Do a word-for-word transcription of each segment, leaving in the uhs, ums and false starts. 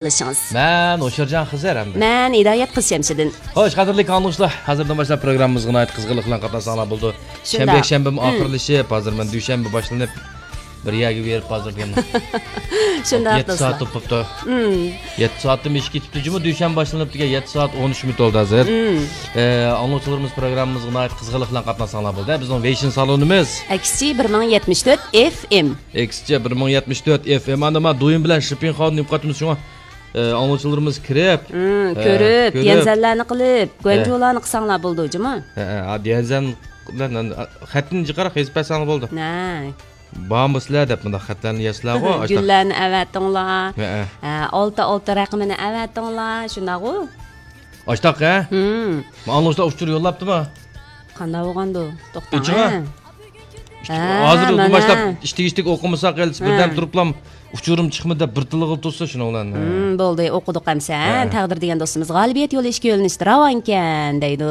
قىلىشىڭىز. مەن ھوشيارجان خىزىر ھەمدە مەن ھىدايەت قىز شەمشىدىن. خوش، قەدىرلىك ئاڭلىغۇچىلار، ھازىردىن باشلاپ پروگراممىمىزغا ناھايىتى قىزغىنلىق بىلەن قاتناشساڭلار بولىدۇ. شۇنداق. شەنبە، يەكشەنبىمۇ ئاخىرلىشىپ، ھازىر مەن دۈشەنبە باشلىنىپ، بىر يەرگە بېرىپ ھازىر بۇ شۇنداق، يەتتە سائەت دوستلار. بوپتۇ. مم. يەتتە سائەتتىن ئېشىپ كېتىپتۇ جۇمۇ، دۈشەنبە باشلىنىپتىكەن، يەتتە سائەت ئون ئۈچ مىنۇت بولدى ھازىر. مم. ئە، ئاڭلىغۇچىلىرىمىز پروگراممىمىزغا ناھايىتى قىزغىنلىق بىلەن قاتناشساڭلار بولدى. بىزنىڭ ۋېيشىن سالونىمىز. ئەكسىچى بىر مىڭ يەتمىش تۆت ئېف ئېم. ئەكسىچە بىر مىڭ يەتمىش تۆت ئېف ئېم. ئاندىن ما دويىن بىلەن شىپىڭخاۋنى نېمە قاتىمىز شۇڭا، ئە، ئاڭلىغۇچىلىرىمىز كىرىپ، مم، ئە، كۆرۈپ، كۆرۈپ. ديەنزەنلەرنى قىلىپ، ھە. گۇەنجۇلارنى قىلساڭلار بولىدۇ جۇمۇ. ھە، ھە، ھە، ديەنزەن بىلەن خەتنى جىقراق يېزىپ بەرسەڭلار بولىدۇ. نە. بارمۇ سىلەر دەپ مۇنداق خەتلەرنى يازسىلەرغۇ، ئاشتاق. گۈللەرنى ئەۋەتىڭلار. ھەئە. ئە، ئالتە ئالتە رەقىمىنى ئەۋەتىڭلار، شۇنداقغۇ؟ ئاشتاق، ھە؟ ھىم. ئاڭلىغۇچىلار ئۇچۇر يوللاپتىمۇ؟ قانداق بولغاندۇ؟ توختاڭ، ئۈچىغا؟ ھە. ھە، ھازىر مانا. باشلاپ ئىشتىك-ئىشتىك ئوقۇمىساق، ھە. بىردەم تۇرۇپلا ئۇچۇرۇم چىقمىدى دەپ بىر تىلغا تۇرسا شۇنىڭ بىلەن. ھىم، بولدى، ئوقۇدۇق ئەمسە، ھە. تەقدىر دېگەن دوستىمىز غالىبىيەت يولى ئىككى يۆنىلىشتە راۋانكەن دەيدۇ.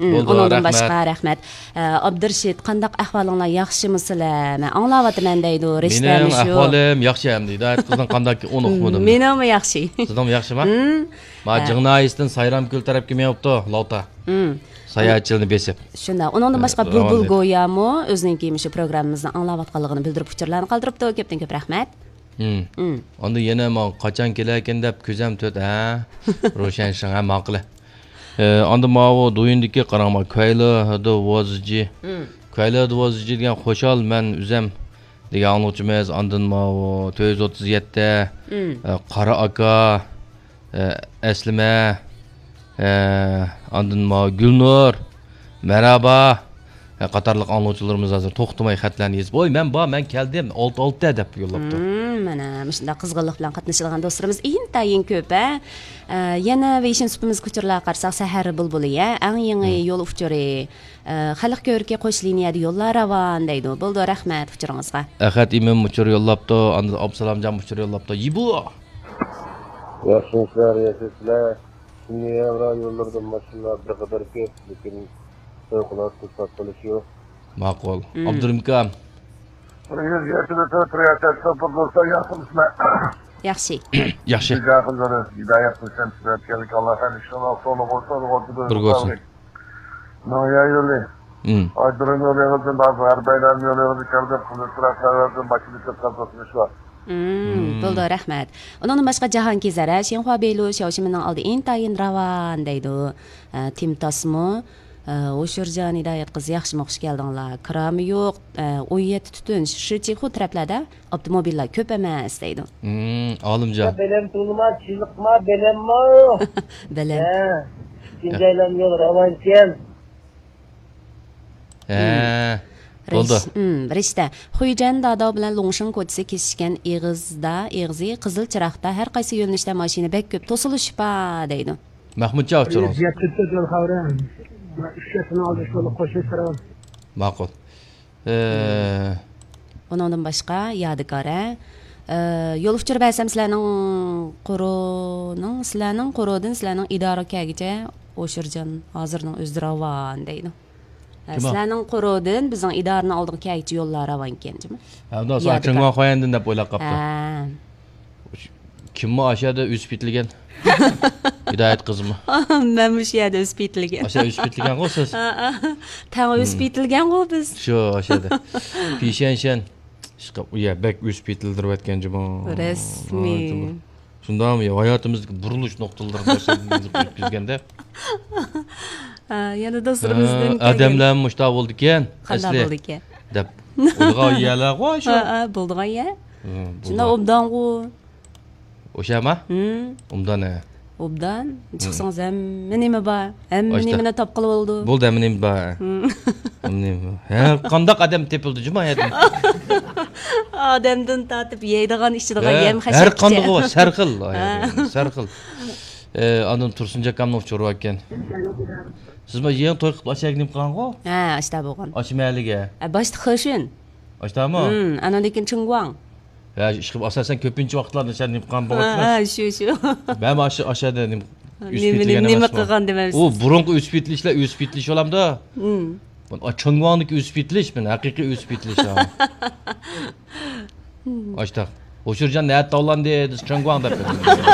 ھىم، بولدى، ئۇنىڭدىن رەھمەت. باشقا رەھمەت. ئە، ئابدۇرېشىت، قانداق ئەھۋالىڭلار، ياخشىمۇ سىلەر؟ مەن ئاڭلاۋاتىمەن دەيدۇ، رىشتەمۇ مېنىڭ شۇ. ئەھۋالىم ياخشى ئەمدى، ھىدايەت قىزنىڭ قانداكى ئۇنى ئۇقمىدىم. مېنىڭمۇ ياخشى. سىزنىڭمۇ ياخشىما؟ ھىم. ما ھە. جىڭ ناھىيەسىدىن سايرامكۆل تەرەپكە مېڭىپتۇ، لاۋتا. ھىم. ساياھەتچىلىرىنى بېسىپ. شۇنداق. ئۇنىڭدىن ھە، باشقا بۇلبۇل راۋان. گويامۇ ئۆزىنىڭكى مۇشۇ پروگراممىمىزنى ئاڭلاۋاتقانلىقىنى بىلدۈرۈپ ئۇچۇرلارنى قالدۇرۇپتۇ. كۆپتىن كۆپ رەھمەت. ھىم. ھىم. ئاندىن يەنە ماڭا قاچان كېلەركىن دەپ كۆزەم تۆت، ھە؟ روشەن شىڭ، ھە، ماقۇل. ئە، ئاندىن ماۋۇ دويىندىكى قاراڭ، ما، كۇەيلې دې ۋوزجى. ھىم. كۇەيلې دې ۋوزجى دېگەن خوشال، مەن ئۆزەم دېگەن ئاڭلىغۇچىمىز. ئاندىن ماۋۇ تۆت يۈز ئوتتۇز يەتتە، ھىم. ئە، قارا ئاكا، ئە، ئەسلىمە، ئە، ئاندىن ماۋۇ گۈلنۇر، مەرھابا، ئە، قاتارلىق ئاڭلىغۇچىلىرىمىز ھازىر توختىماي خەتلەرنى يېزىپ، ۋوي، مەن بار، مەن كەلدىم، ئالتە، ئالتە دەپ يوللاپتۇ. ھىم، مانا مۇشۇنداق قىزغىنلىق بىلەن قاتنىشىدىغان دوستلىرىمىز ئىنتايىن كۆپ، ھە. ئە، يەنە ۋېيشىن سۇپىمىزغا ئۇچۇرلارغا قارىساق، سەھەر بۇلبۇلى، ھە، ئەڭ يېڭى ھىم. يول ئۇچۇرى، ئە، خەلق كۆۋرۈكى قوش لىنىيەدە يوللار راۋان دەيدۇ. بولدى، رەھمەت ئۇچۇرىڭىزغا. ئەخەت ئىمىن ئۇچۇر يوللاپتۇ، ئاندىن ئابدۇسالامجان ئۇچۇر يوللاپتۇ. يىبۇ! ياخشىمۇسىلەر، ياشايسىلەر. شۇنداق ھەمراھ يوللىرىدا ماشىنىلار بىر قەدەر كۆپ، لېكىن پەۋقۇلئاددە توساتقۇلۇش يوق. ماقۇل. مم. ئابدۇرېھىم ئاكام. بىر يۈز يەتمىش تۆت رىياسەت توپى بولسا ياخشىمۇسىلەر؟ ياخشى. ياخشى. جاكىزلىرى ھىدايەت قىلسام سۈرەتكەنلىك ئاللا خەير ئىشلار سوڭى بولسا بىر بولسۇن. ناھىيە يولى. مم. ئايدۇرۇم يولى ئېغىزى بار، ھەربەيلەن يولى ئېغىزى كەلدى، قىزىل تۇراق سەۋەبىدىن ماشىنا كۆپ قاتنىشىش بار. مم، مم. بولدى، رەھمەت. ئۇنىڭدىن باشقا جاھانكېزەر، ھە، شىنخۇا بېيلۇ شياۋشىمىننىڭ ئالدى ئىنتايىن راۋان دەيدۇ. ئە، تىمتاسمۇ، ئە، ھوشۇرجان ھىدايەت قىز ياخشىمۇ، خۇش كەلدىڭلار. كىرامى يوق، ئە، ئون يەتتە تۈتۈن، شىچىخۇ تەرەپلەردە ئاپتوموبىللار كۆپ ئەمەس دەيدۇ. مم، ئالىمجان. بەلەم تۇلما، چىلىقما، بەلەممۇ. بەلەم. ھە، شىنجايلام يول راۋانكەن. ھە، مم. بولدى. رىش-، مم، رىشتە. خۇيجەن داداۋ بىلەن لۇڭشىڭ كوچىسى كېسىشكەن ئېغىزدا، ئېغىزى قىزىل چىراغدا، ھەر قايسى يۆنىلىشتە ماشىنا بەك كۆپ، توسۇلۇش بار دەيدۇ. مەھمۇتجان ئۇچۇرىڭىز. يەتتە تۆت يول خەۋىرى. ئۈچ يەتتىنىڭ ئالدى شۇ قوشۇن سىرا. ماقۇل. ئە، ئۇنىڭدىن باشقا، يادىكار، ھە؟ ئە، يول ئۇچۇر بەرسەم سىلەرنىڭ قورۇنىڭ، سىلەرنىڭ قورۇدىن سىلەرنىڭ ئىدارىگە كەلگۈچە ھوشۇرجان ھازىرنىڭ ئۆزى راۋان دەيدۇ. ئە، كىم ئۇ؟ سىلەرنىڭ قورۇدىن بىزنىڭ ئىدارىنىڭ ئالدىغا كەلگۈچە يوللار راۋانكەن جۇمۇ. ھە، ئۇنداق ساڭا يادىكار. چىڭۋاڭ خۇەندىن دەپ ئويلاپ قاپتۇ. ھە. كىممۇ ئاشۇ يەردە ئۆسۈپ يېتىلگەن؟ ھىدايەت قىزمۇ؟ مەنمۇ شۇ يەردە ئۆسۈپ يېتىلگەن. ئاشۇ يەردە ئۆسۈپ يېتىلگەنغۇ سىز؟ ھە، ھە. تەڭ ئۆسۈپ يېتىلگەنغۇ بىز. شۇ، ئاشۇ يەردە. پىشەنشەن. ئىشقىلىپ، ئۇ يەر بەك ئۆسۈپ يېتىلدۈرۈۋەتكەن جۇمۇ. رەسمىي. ھاي، جۇمۇ. شۇنداقمۇ؟ ھاياتىمىزدىكى بۇرۇلۇش نۇقتىلىرىنى ئۆتكۈزگەندە. ھە، يەنە دوستلىرىمىزدىن ھە، كەلگەن. ئادەملەرمۇ مۇشۇنداق بولىدىكەن، قانداق ئەسلى. بولىدىكەن؟ دەپ ئويلىغان يەرلەرغۇ شۇ. ھە، ھە، بولىدىغان يەر. ھە، شۇنداق بولىدىغان. ئوبدانغۇ. ئوشۇقمۇ؟ ھىم. ئوبدان، ھە. ئوبدان. ھىم. چىقسىڭىز ھەممە نېمە بار. ھەممە ئاشتا. نېمىنى تاپقىلى بولىدۇ. بولدى، ھەممە نېمە بار. ھىم. ھەممە نېمە بار. ھەر قانداق ئادەم تېپىلدى جۇمۇ ھەدە. ئادەمدىن تارتىپ يەيدىغان، ئىچىدىغان ھە، يەم ھەر خەشەككىچە. قاندىقى بار، سەرخىل. ھە. سەرخىل. ئە، ئاندىن تۇرسۇن جاكامنىڭ ئۇچۇرى باركەن. سىز ما يېڭى توي قىلىپ ئاشۇ يەرگە نېمە قىلغانغۇ؟ ھە، ئاشتا بولغان. ئاشۇ مەھەللىگە. ئە، باشتا خېشۈن. ئاشتامۇ؟ ھىم، ئاندىن كېيىن چىڭگۇاڭ. ھە، ئىشقىلىپ ئاساسەن كۆپىنچە ۋاقىتلاردا شۇ نېمە قىلغان ھە، بولغاچقا. ھە، شۇ، شۇ. مەن ئاشۇ، ئاشۇ يەردە نېمە ئۆسۈپ نېمە، يېتىلگەن نېمە ئەمەسمۇ؟ قىلغان دېمەمسىز؟ ئۇ بۇرۇنقى ئۆسۈپ يېتىلىشلەر، ئۆسۈپ يېتىلىش بولامدۇ؟ ھىم. بۇ، ئا، چىڭگۇاڭدىكى ئۆسۈپ يېتىلىش، مەن ھەقىقىي ئۆسۈپ يېتىلىش، ھا. ئاشتاق. ھوشۇرجان نەدە تاۋلاندى دېسە، چېڭگۇاڭ دەپ بېرىمەن.